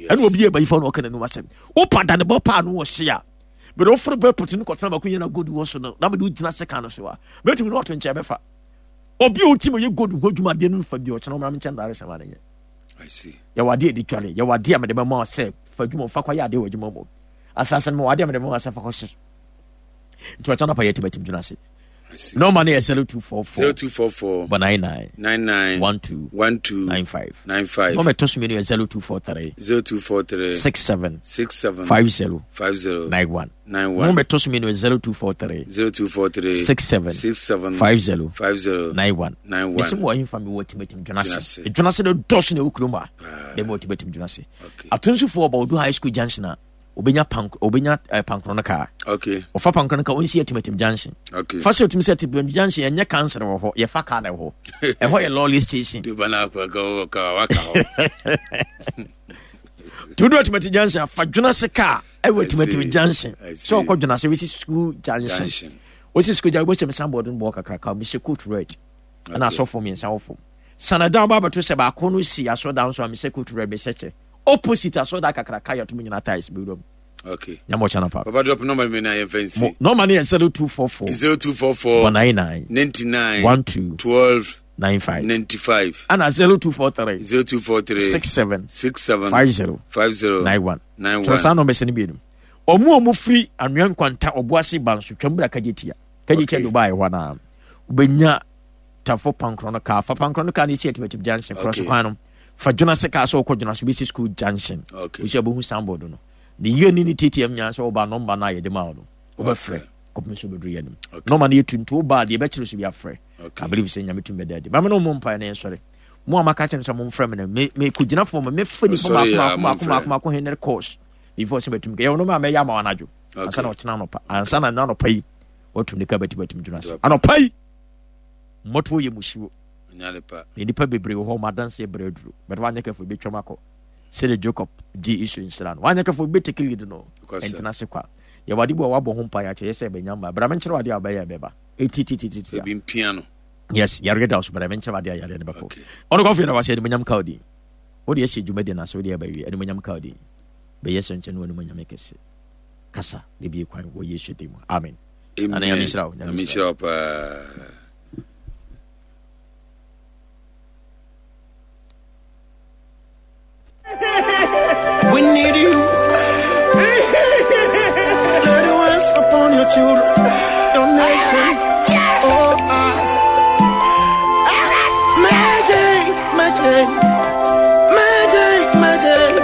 Ɛna obi yɛ bayifa na ɔka n'anum asɛm. Wopa da ne bɔ paa no wɔ hye a mede woforo bɛ pɔtɛ no kɔtena baako yɛ na gold wɔ so no na mede wogyina sekan no so a mɛtumi no wato nkyɛn bɛfa. Obi a ɔtim ɔyɛ gold ho adwuma adeɛ no mfa bi ɔkyena ɔmmra me nkyɛn daare sɛm ade nyɛ. Yɛwɔ adeɛ yɛde dware, yɛwɔ adeɛ a mede bɛma sɛ fa adwuma fa kɔyɛ adeɛ wɔ adwuma mu. Asase no mewɔ adeɛ a mede bɛma sɛ fa kɔhye. Nti ɔkyena nɔpa yɛtimatim dwena ase. Nɔɔma no yɛ 0244 0244 99 99 12 12 95 95. Nɔɔma ɛtɔ so mmienu yɛ 0243 0243 67 67 50 50 91. 91. Nɔɔma ɛtɔ so mmienu yɛ 0243 0243 67 67 50 50 91. 91. Mesi mu wɔ ahemfa mi wɔ timatim dwena ase. Dwena ase. Dwena ase no dɔso na ɛwɔ kurom a. Dɛm wɔ timatim dwena ase. Okay. Atonsufoɔ ɔba Odu High School junction a obenya pank obenya eh, pankoro no kaa. Okay. Ɔfa pankoro no kaa onsi atimatim junction. Okay. Fa sɛ otumi sɛ atimatim junction ɛnyɛ council wɔ hɔ yɛfa kaa na ɛwɔ hɔ. Ɛhɔ yɛ lorry station. Duba na akɔ ka ka waka hɔ. Tudu atimatim junction fa dwena kaa ɛwɔ atimatim junction. I Sɛ ɔkɔ dwena se wesi school junction. Junction. Wosi school junction wobɛsɛ signboard no bɔ kakraka mehyɛ coat red. Ɛna Okay. asɔfoɔ mmiɛnsa wɔ fam. Sanadan ba abɛto sɛ baako no si asɔdan so a mehyɛ coat red mehyɛ kyɛ. Opposite asɔdan kakraka yɛto mu nyinaa tiles bɛwura mu. Okay. Nyame ɔkyɛ no pa. Papa drop number mi na yɛn fɛn si. Nɔɔma no yɛ 0244 0244 99 99 12 12 95 95 ana 0243 0243 67 67 50 50 91. 91. Twerɛ saa nɔmba sɛ no bienum. Ɔmo a ɔmo firi anwea nkwanta ɔboase banso twam bra kagye tia. Kagye tia Okay. de ɔbaa ɛhɔ anaa. Wobɛnya tafo pankorɔ no kaa. Fa pankorɔ no kaa no esi atimatim junction. Korɔ so Okay. kwan no. Fa dwonase kaa sɛ wokɔ dwonase wobɛsi school junction. Okay. Wosi abɛhu signboard no. Ne yie ne ne TTM nyinaa sɛ woba nɔmba no a yɛde ma wo no. Wobɛfrɛ kɔpem sɛ wobɛduru yɛ anim. Okay. Nɔmba no yɛ tuntum wobaa deɛ ɛbɛkyerɛ so bi afrɛ. Okay. I believe sɛ Nyame tumi bɛda adi. Ma me ne wo mmɔ mpaeɛ na yɛnsɔre. Mo a maka kyerɛ me sɛ momfrɛ me no, me mekɔgyina fam, mɛfa nipa Ɔsɔre baako yɛ a, baako baako momfrɛ. baako baako hundred calls before sɛ bɛtumi kɛ. Yɛwɔ nɔmba a mɛyɛ ama wo anadwo. Ansa na ɔkyena anɔpa. Ansa na na anɔpa yi wɔtum nika bɛtumi dwena ase. Anɔpa yi mmɔtoɔ yɛ musuo. Ɔnya nipa. Na nnipa bebree wɔ hɔ wɔn adanseɛ brɛ aduro. But wanyɛ kɛfo ebɛtwam akɔ. Sɛdeɛ Jacob gye Esau nhyira no. Wanyɛ kɛfo ebɛtake lead no. Nokwasɛm. Ɛntena ase kwa. Yɛwɔ ade bi a wabɔ ho mpaeɛ akyɛ yɛ sɛ ɛbɛnya mma. Bra menkyerɛ wo adeɛ a wobɛyɛ a ɛbɛba. Ɛtitititi a. Ebi mpia no. Yes, yareɛ da wo so bra menkyerɛ wo adeɛ a yareɛ no bɛkɔ. Okay. Ɔno kɔfo yɛ na wahyɛ animuonyam ka wo din. Wode ahyɛ dwumadi no ase wode aba wie animuonyam ka wo din. Bɛyɛ sɛnkyɛn no animuonyam kɛse. Kasa na bie kwan wɔ Yesu din mu. Amen. Amen. Nana Nyame nhyira wo. Nyame Nyame nhyira nhyira wo paa. We need you. Let it rest upon your children, your nation. Oh, I. Magic, magic, magic, magic.